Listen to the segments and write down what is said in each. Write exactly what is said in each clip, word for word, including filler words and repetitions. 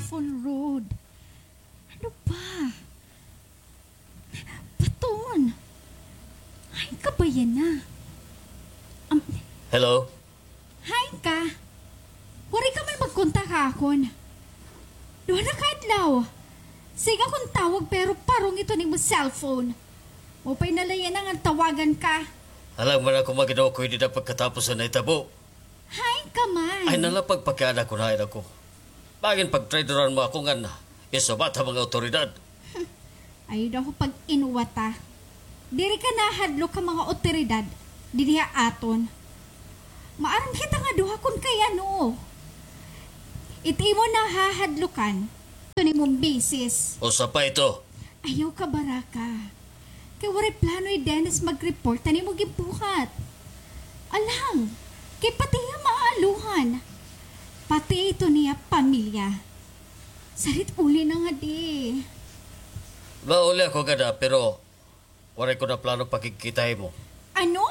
Phone, Rod. Ano ba? Baton. Ay, kabayan na. Am- Hello? Hain ka? Waray ka man magkontak ha akon. Duha na ka adlaw. Sige akon tawag pero parong ito nimo cellphone. Maupay na la yana ngan tawagan ka. Alang man ako maginukoy dida pagkatapos sa nahitabo. Hain ka man? Ay, nalapag pakiana kun hain ako. Bangin pagtraidoran mo ako ngan isubat ha mga awtoridad. Ayaw daw ako pag-inuwat, ah. Diri ka nahadlok ha mga awtoridad didi ha aton. Maaram kita nga duha kun kay ano. It imo nahahadlokan, ito nimong misis. Usa pa ito. Ayaw ka baraka. Kay waray plano hi Dennis mag-report han imo ginbuhat. Alang, kay pati hiya maaluhan. Pati ito niya pamilya. Sarit uli na ngadi. Mauli ako ngada, pero waray ko na plano pakigkita ha imo. Ano?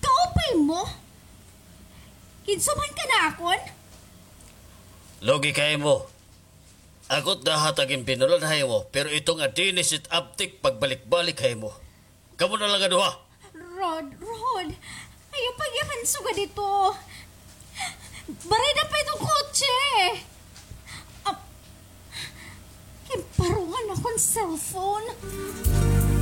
Kaupay mo? Ginsubhan ka na akon? Lugi ka ha imo. Ako it nahatag hin binulan ha imo, pero ito nga Dennis it abtik pagbalik-balik ha imo. Kamo na la nga duha. Rod, Rod, ayaw pagyakan sugad ito. Barida pa itong kotse. Ah, ginparungan akon cellphone.